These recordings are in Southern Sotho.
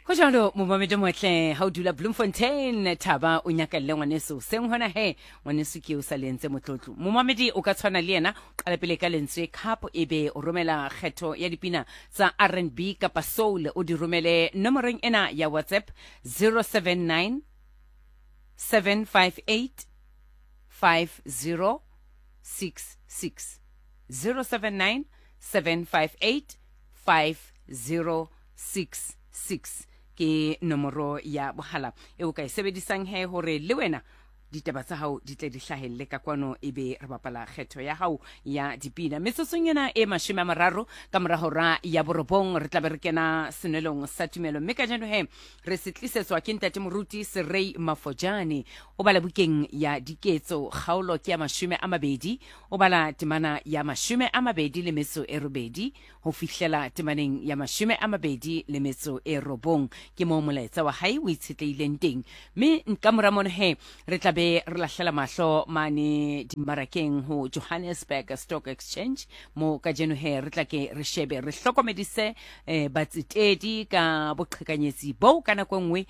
Go jalo momamedi motle ga o dula Bloemfontein thaba o nyakalle ngwaneso seng hona he ngwaneso ke o sa le entse motlotlo. Momamedi o ka tshwana le yena qala pele ka lentswe cup e be o romela kgetho ya dipina tsa R&B kapa soul o di romele nomorong ena ya WhatsApp 079 758 5066 079 758 5066 ke nomoro ya bohala e o ka e sebedisang he hore le wena ditaba tsa hao di tle di hlahelle ka kwano e be re bapala kgetho ya hao ya dipina. Metsotsong ena e 30 ka mora hora ya borobong re tlabe re kena senwelong sa tumelo, mme kajeno he re se tlisetswa ke ntate moruti Serei Mafojane. O bala bukeng ya Diketso kgaolo ke ya 20, o bala temana ya 28 ho fihlela temaneng ya 29. Ke moo molaetsa wa hae o itshetlehileng teng. Mme ka mora mono he re tla be re lahlela mahlo mane dimmarakeng ho Johannesburg Stock Exchange, mo kajeno he re tla ke re shebe re hlokomedise batsetedi ka boqhekanyetsi boo ka nako e nngwe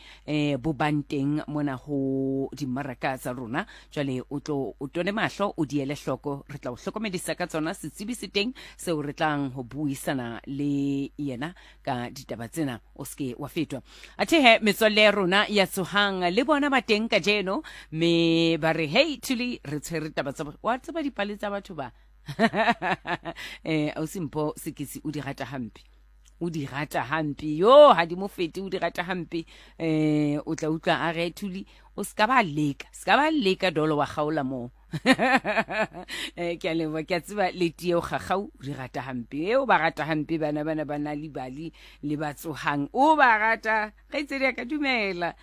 bo bang teng mona ho dimmaraka tsa rona. Jwale o tlo o tone mahlo o di ele hloko, re tla o hlokomedisa ka tsona. Setsebi se teng seo re tlang ho buisana le yena ka ditaba tsena, o seke wa fetwa. Athe he metswalle ya rona ya tsohang le bona ba teng kajeno, mme ba re hey Thuli, re tshwere taba tsa wa tseba dipale tsa batho ba ausi Mpho Sekisi o di rata hampe, o di rata hampe, yo ha di mo fete, o di rata hampe. O tla utlwa a re Thuli o ska ba leka, ska ba leka dolo wa kgaola moo. Ke a leboha, ke a tseba le tie o gagau o di rata hampe, o ba rata hampe bana bana ba na libali le ba tsohang, o ba rata kgaitsedi ya ka dumela.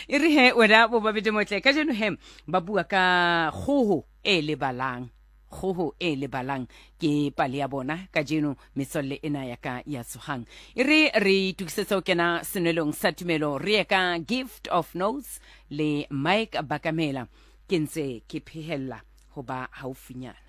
E re he wena bo babedi motle kajeno he ba bua ka kgoho e lebalang, kgoho e lebalang ke pale ya bona kajeno metswalle ena ya ka ya tsohang. E re re itokisetsa ho kena senwelong sa tumelo, re ye ka Gift of Notes le Mike Bakamela. Ke ntse ke phehella ho ba haufinyana.